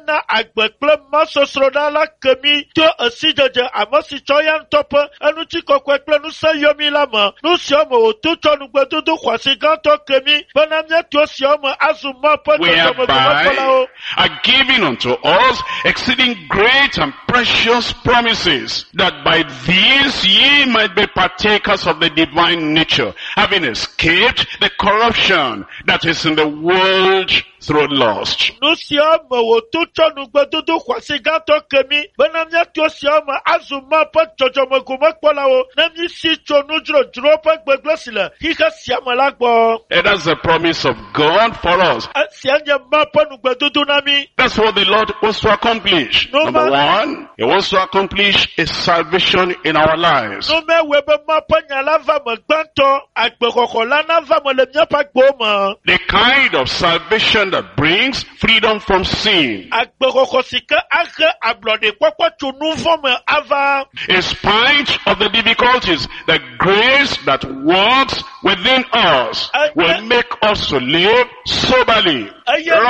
Ena agbe kple masɔsrɔ̃ɖa la ke mí to esidzedze ame si tsɔ ya ŋutɔ ƒe eŋutikɔkɔe kple ŋusẽ yɔ mí la me. Nu siawo me wòto tsɔ nugbedodo xɔasi gãtɔ ke mí bena míato esiawo me azu Mawu ƒe Whereby dzɔdzɔmegomekpɔlawo. Are given unto us exceeding great and precious promises, that by these ye might be partakers of the divine nature, having escaped the corruption that is in the world through lust. Nu siawo me wòto tsɔ nugbedodo xɔasi gãtɔ ke mí bena míato esiawo me azu Mawu ƒe dzɔdzɔmegomekpɔlawo ne mísi tso nudzodzro ƒe gbegblẽ si le xixe sia me la gbɔ. And that's the promise of God for us. Esia nye Mawu ƒe nugbedodo na mí. That's what the Lord wants to accomplish. No Number man- one, He wants to accomplish a salvation in our lives. Nu mewɔe be Mawu ƒe nya la va me gbãtɔ, agbexɔxɔ la nava me le míaƒe agbewo me. The kind of salvation that brings freedom from sin. Agbexɔxɔ si ke ahe ablɔɖekpɔkpɔ tso nu vɔ̃ me ava. In spite of the difficulties, the grace that works within us will make us to live soberly,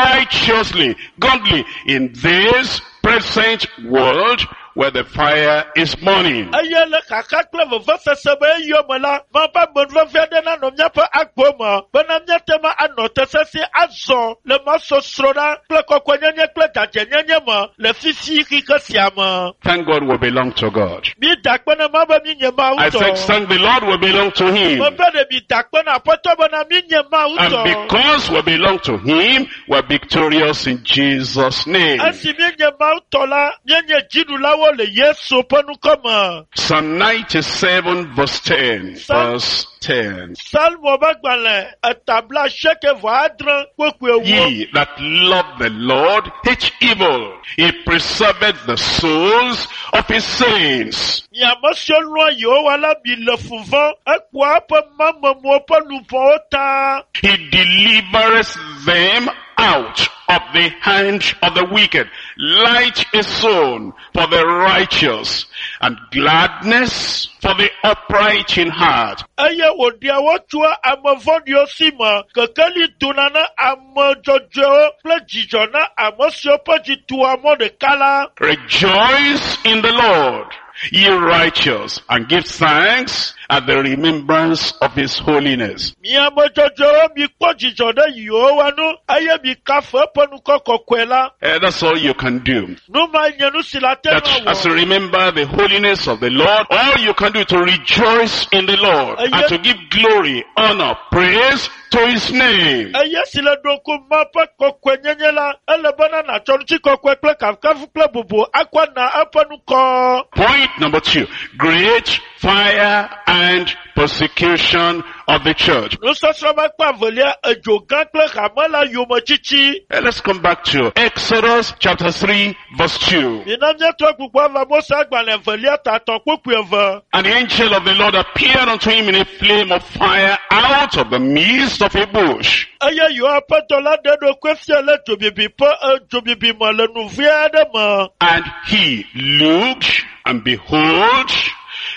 righteously, godly in this present world where the fire is burning. Eye le xaxa kple vevesese be eyɔ me la, Mawu ƒe amenuveve aɖe nanɔ míaƒe agbewo me bena míate ŋu anɔ te sesĩe azɔ le masɔsrɔ̃ɖa kple kɔkɔenyenye kple dzadzɛnyenye me le fifi xixe sia me. Thank God we belong to God. Mída akpe na Mawu be míenye Mawu I said, tɔ. thank the Lord we belong to Him. Mebe ɖe mida akpe na Aƒetɔ bena míenye Mawu And tɔ. because we belong to Him, we're victorious in Jesus' name. Esi míenye Mawu tɔ la, míenye dziɖulawo le Yesu ƒe ŋkɔ me. Psalm 97 verse 10. Verse 10. Salmo ƒe agbalẽ etabla asieke vɔ adre kpokpoe ewo. Ye that love the Lord hate evil. He preserveth the souls of his saints. Mi ame siwo lɔ̃a Yehowa la mi le fu vɔ̃, ekpɔa eƒe mamemewo ƒe luʋɔwo ta. He delivereth them out of the hand of the wicked. Light is sown for the righteous and gladness for the upright in heart. Eye wòɖea wo tsoa ame vɔ̃ɖiwo si me. Kekeli dona na ame dzɔdzɔewo kple dzidzɔ na ame siwo ƒe dzi tua mɔ ɖeka la. Rejoice in the Lord, ye righteous, and give thanks at the remembrance of his holiness. Mi ame dzɔdzɔewo mikpɔ dzidzɔ ɖe Yehowa ŋu eye mikafu eƒe ŋkɔ kɔkɔe la. That's all you can do. Nu ma nye nu si le ate That ŋu as you awɔ. remember the holiness of the Lord, all you can do to rejoice in the Lord and to give glory, honor, praise to his name. Eye si le ɖo ŋku Mawu ƒe kɔkɔenyenye la, ele bena nàtsɔ ŋutikɔkɔe kple kafukafu kple bubu akɔ na eƒe ŋkɔ. Point number two, great fire and persecution of the church. Nusɔsrɔ̃ ƒe akpa evelia, edzo gã kple hame la yometsitsi. Let's come back to Exodus chapter 3 verse 2. Mina míatrɔ gbugbɔ ava Mose agbalẽ evelia ta etɔ̃ kpukpui eve. And the angel of the Lord appeared unto him in a flame of fire out of the midst of a bush. Eye Yehowa ƒe dɔla ɖe eɖokui fia le dzobibi ƒe dzobibi me le nuvi aɖe me. And he looked, and behold,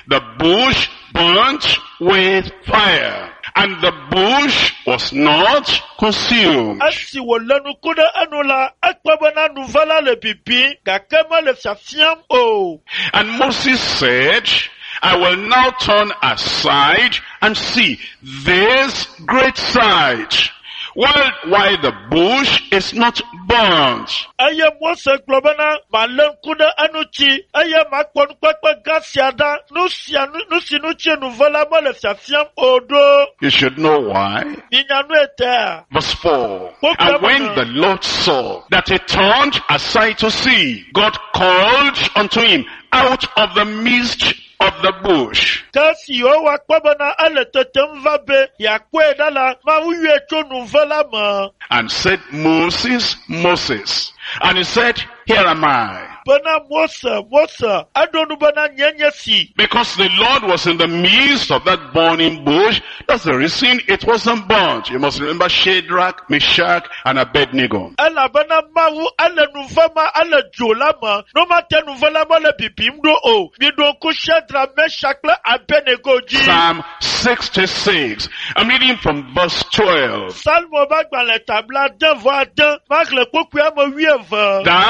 the bush burnt with fire, and the bush was not consumed. Esi wòlé nuku ɖe enu la, ekpɔ bena nuve la le bibim gake mele fiafiam o. And Moses said, I will now turn aside and see this great sight, while the bush is not burnt. Eye Mose gblɔ bena, malé ŋku ɖe eŋuti eye makpɔ nukpekpe gã sia ɖa, nu sia nu nu si ŋuti nuve la mele fiafiam o ɖo. You should know why. Minya nu etea. Verse 4. And when the Lord saw that he turned aside to see, God called unto him out of the midst of the bush. Ke esi Yehowa kpɔ bena ele tetem va be yeakpɔe ɖa la, Mawu yɔe tso nuve la me And said, Moses, Moses. And he said, Here am I. bena Mose, Mose, eɖo nu bena nye nye si. Because the Lord was in the midst of that burning bush, that's the reason it wasn't burnt. You must remember Shadrach, Meshach, and Abednego. Elabena Mawu ele nuve ma ele dzo la me. No ma te nuve la mele bibim ɖo o. Miɖo ŋku Shadrach, Meshach kple Abednego dzi. Psalm 66. I'm reading from verse 12. Salmo ƒe agbalẽ tabla ade vɔ ade maxlẽ kpukpui ame wuieve. Thou